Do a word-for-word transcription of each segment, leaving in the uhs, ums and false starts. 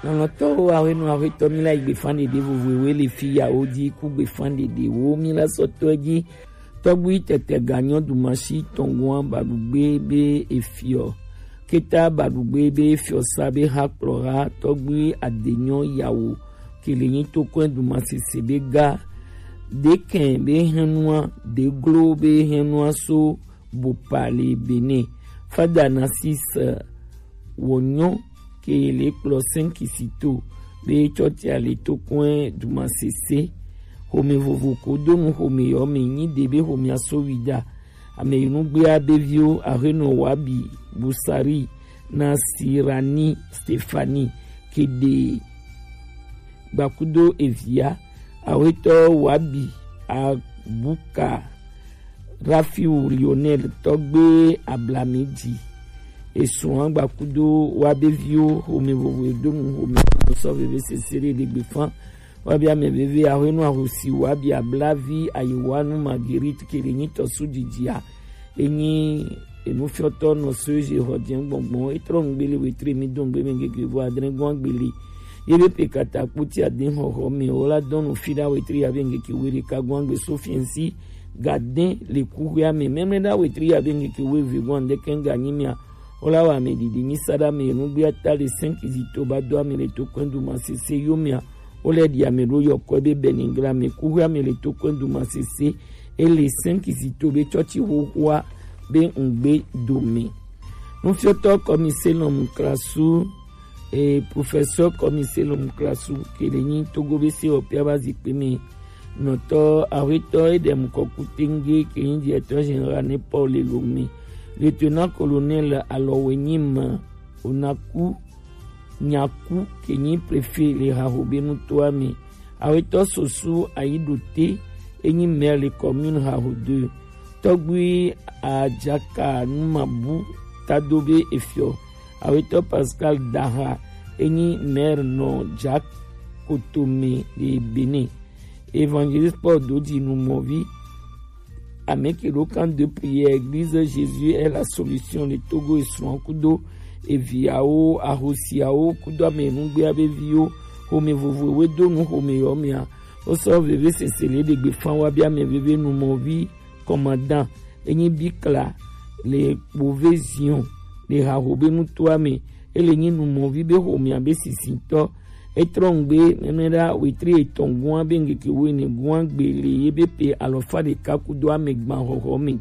Lɔlɔ̃tɔwo, awenɔ ahuetɔ, mi la yi gbefan ɖeɖe vovovowo le fi yawo ji ku gbefan ɖeɖewo mi la sɔ tɔ ji. Tɔgbui tɛtɛ ga nyɔ dumasi tɔngua baɖugbe be efiɔ. Keta baɖugbe be efiɔ sa be ha kplɔ ha tɔgbui adenyɔ yawo. Kele nyi tokɔn dumasese be ga. Dekɛn be hɛnua, deglo be hɛnua so Bopale Benin. Fada Narcisse Wonyo ke le kplɔ cinq Kisito be tsɔtia le tokɔn dumasese. Home vovo ko donu home yɔ me nyi de be home asowida. Ame yi nugbea be viwo ahenɔ Wabi Busari na Sirani Stefani kede gbakudo evia awetɔ Wabi Abuka Rafiu Lionel tɔgbe ablamidzi. Esuan gbakudo wa be viwo home vovo edonu home sɔ veve sese ɖe ɖegbe fan. Wa be ame veve ahwenu ahosi wa be ablavi ayiwanu Marguerite kele nyi tɔsu dzidzia. Enyi enufiɔtɔ nɔ so ezi xɔ dze gbɔngbɔn etrɔ nugbele wetre mi do nugbe me ngege vo adre gɔn agbele. Ye be pe kata kpoti ade xɔxɔ me wo la dɔn nu fi ɖa wetre ya be ngeke we ɖeka gɔn agbe so fiɛnsi gaden le kuxuia me mɛmɛ ɖa wetre ya be ngeke we ve gɔn ande kɛn ga nyi mia. Wo la wa ame ɖiɖi nyi sa ɖa me nugbe ata le cinq zito ba do ame le to kɔn du ma sese yo mia. Wo lɛ ɖi ame ɖo yɔkɔe be Benigra me kuxuia me le to kɔn du ma sese. Ele cinq zito be tsɔtsi xoxoa be ŋgbe dome. Nufiɔtɔ kɔmise lɔmu klasu e professeur kɔmise lɔmu klasu kele nyi Togo be se ɔpia ba zikpe me. Nɔtɔ awetɔ edem kɔku tenge ke nyi directeur général ne Paul Lomé. Lieutenant colonel Alɔwe nyi ma Onaku Nyaku ke nyi préfet le haho be nutoa me. Awetɔ soso ayiɖote enyi maire le commune haho deux. Tɔgbui Ajaka Numabu tado be efiɔ. Awetɔ Pascal Daha enyi maire nɔ Jakotome le Benin. Évangéliste Paul Dodi Numɔvi Ameke ɖo kan de prière église Jésus est la solution le Togo esuan kudo eviawo ahosiawo kudo ame nugbea be viwo home vovo we do nu home yɔ mia. Wo sɔ veve sese le ɖegbe fan wa be ame veve numɔvi commandant enyi bikla le kpove zion le haho be nutoa me. Ele nyi numɔvi be homea be sisitɔ. Etrɔ ŋgbe mɛmɛ ɖa wetre etɔn gua be ŋgeke wo ene gua gbe le ye be pe alɔfa ɖeka kudo ame gban xɔxɔ me.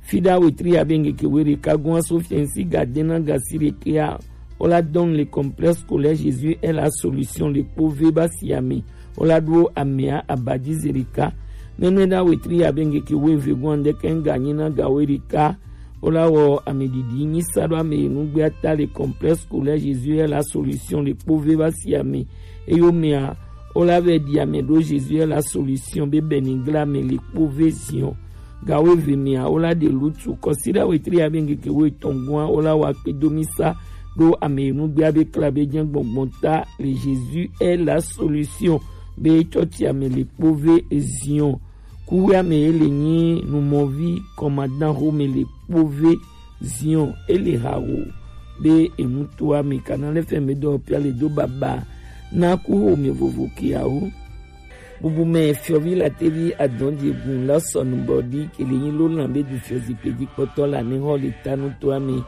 Fi ɖa wetre ya be ŋgeke wo ɖeka gua so fiɛnsi ga dena gasi ɖekea. Wo la dɔn le complexe scolaire Jésus est la solution le kpove ba si ame. Wo la ɖo amea abadi ze ɖeka. Mɛmɛ ɖa wetre ya be ŋgeke wo eve gua ŋdeke ŋga nyi na ga wo ɖeka. Wo la wɔ ame ɖiɖi nyi sa ɖo ame yi nugbe ata le complexe scolaire Jésus est la solution le kpove ba si ame. Eyo mea wo la vɛ ɖi ame ɖo Jésus est la solution be Benigra me le kpove zion. Ga wo eve mea wo la ɖe lutu kɔsi ɖa wetre ya be ŋgeke wo etɔn gua wo la wa kpe do mi sa ɖo ame yi nugbe abe kla be jɛ gbɔngbɔn ta le Jésus est la solution be tsɔtsi ame le kpove zion. Kuxuia me ye le nyi numɔvi commandant home le kpove zion ele hawo be enutoa me kana le fɛn me dɔ pia le do baba na kuxo me vovo kiawo. Bubu me fiɔvi la tevi adɔn di gun la sɔnu bɔ di kele nyi lo lan be du fiɔ zikpe di kpɔtɔ la ne hɔ le ta nutoa me.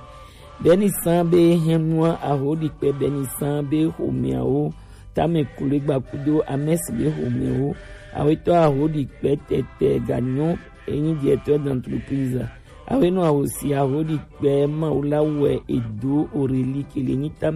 Beni san be hɛnua aho di kpe beni san be homeawo tame kule gbakudo amesi be homewo. Awetɔ aho di kpe tɛtɛ ganyo enyi directeur d'entreprise. Awenɔ ahosi aho di kpe mawu la wɛ edo oreli kele nyi tame